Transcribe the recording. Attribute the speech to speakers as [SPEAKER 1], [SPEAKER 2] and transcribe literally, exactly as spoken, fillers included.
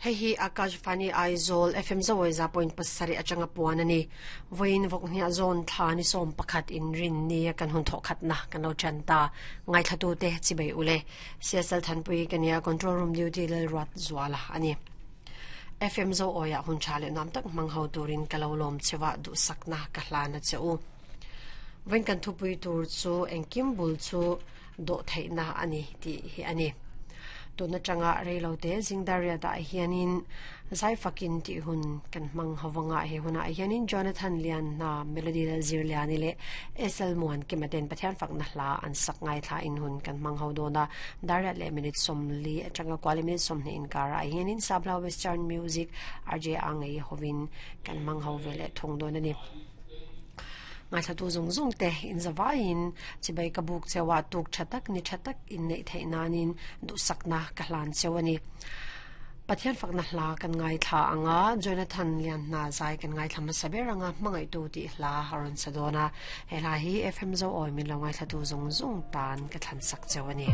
[SPEAKER 1] Hei hi Akashvani Aizawl F M Zawi za point pasarih atanga puan a ni. Vawiin vawkhniah zawn thla ni sawm pakhat inrin ni a kan hun thawh khatna kan lo tan ta. Ngaithlatute chibei ule. C S L Thanpui ka nia, Control Room Duty Lalruat Zuala a ni. F M Zo Awiah hun tha leh nuam tak hmang ho turin ka lo lawm chewa duhsakna ka hlan a che u. Vawiin kan thupui tur chu engkim bul chu dawh theihna a ni tih hi a ni. Tun atanga reilote zingdariat ah hianin zaifakin tih hun kan hmang hovanga he hunah hianin Jonathan Lianhna, Melody Lalzirliani leh S L Muankima ten Pathian fakna hla an sak ngaithla in hun kan hmang ho dawn a. Dariat leh minute sawmli atanga kuali minute sawmhnih inkarah hianin Sabla Western Music R J a ngei hovin kan hmang ho ve leh thung dawn a ni. Ngaithlatu zung zung te in zawaiin chibai ka buk chewa tuk tha tak ni tha tak in neih theih nanin duhsakna ka hlan cheu a ni. Pathian fakna hla kan ngaithla anga Jonathan Lianhna zai kan ngaithla hmasa ber anga hmangaihtu tih hla a rawn sa dawn a. He hla hi F M Zo Awi min lo ngaithlatu zung zung tan ka thlan sak cheu a ni.